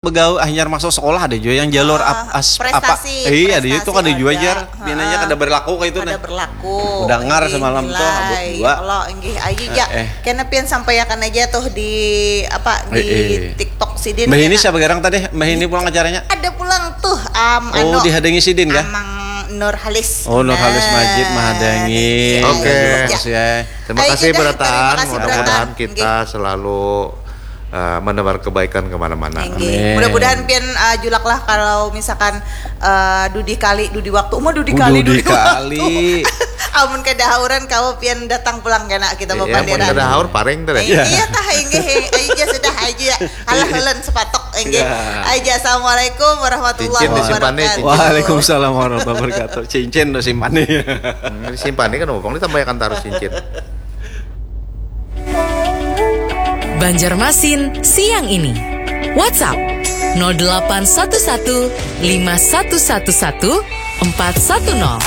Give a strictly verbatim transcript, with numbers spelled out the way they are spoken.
begawe, hanyar masuk sekolah ada jua yang jalur ap- as- apa, prestasi, iya ada jua prestasi tuh kada jua ada. Jar, pinanya Heeh. Kada berlaku kayak itu Kada nah. Berlaku. Udangar Inggih, semalam tuh, abut nilai. Dua. Kalau inggih aja ya. Eh, eh. Kena pian sampaikan aja tuh di apa di Eh, eh. TikTok sidin. Mbah ini Kena- siapa garang tadi? Mbah ini pulang acaranya? Ada pulang tuh am Oh, anu, dihadangi sidin kah? Amang Nurhalis. Oh, Nurhalis Nah, Majid mahadangi. iya, Oke. iya. Bagus ya. Terima Ayo, kasih Jejak. Beratan. Terima kasih, Mudah-mudahan Beratan. Kita selalu uh, menebar kebaikan kemana-mana. Inggih. Amin. Mudah-mudahan pian uh, julak lah kalau misalkan uh, dudi kali dudi waktu. Uma dudi Oh, kali dudi dudi waktu. Kali. Amun kada hauran kawa pian datang pulang kena kita Iya, bapandiran. Kada haur paring tadi. Iya tah inggih aja sudah aja. Alah ulun sepatok inggih. Iya. Aja assalamualaikum warahmatullahi Cincin disimpan nih, wabarakatuh. cincin. Waalaikumsalam warahmatullahi wabarakatuh. Cincin tuh simpan nih. Hmm, disimpan nih kan opong ditambahakan tarus cincin. Banjarmasin siang ini. WhatsApp nol delapan satu satu lima satu satu satu empat satu nol.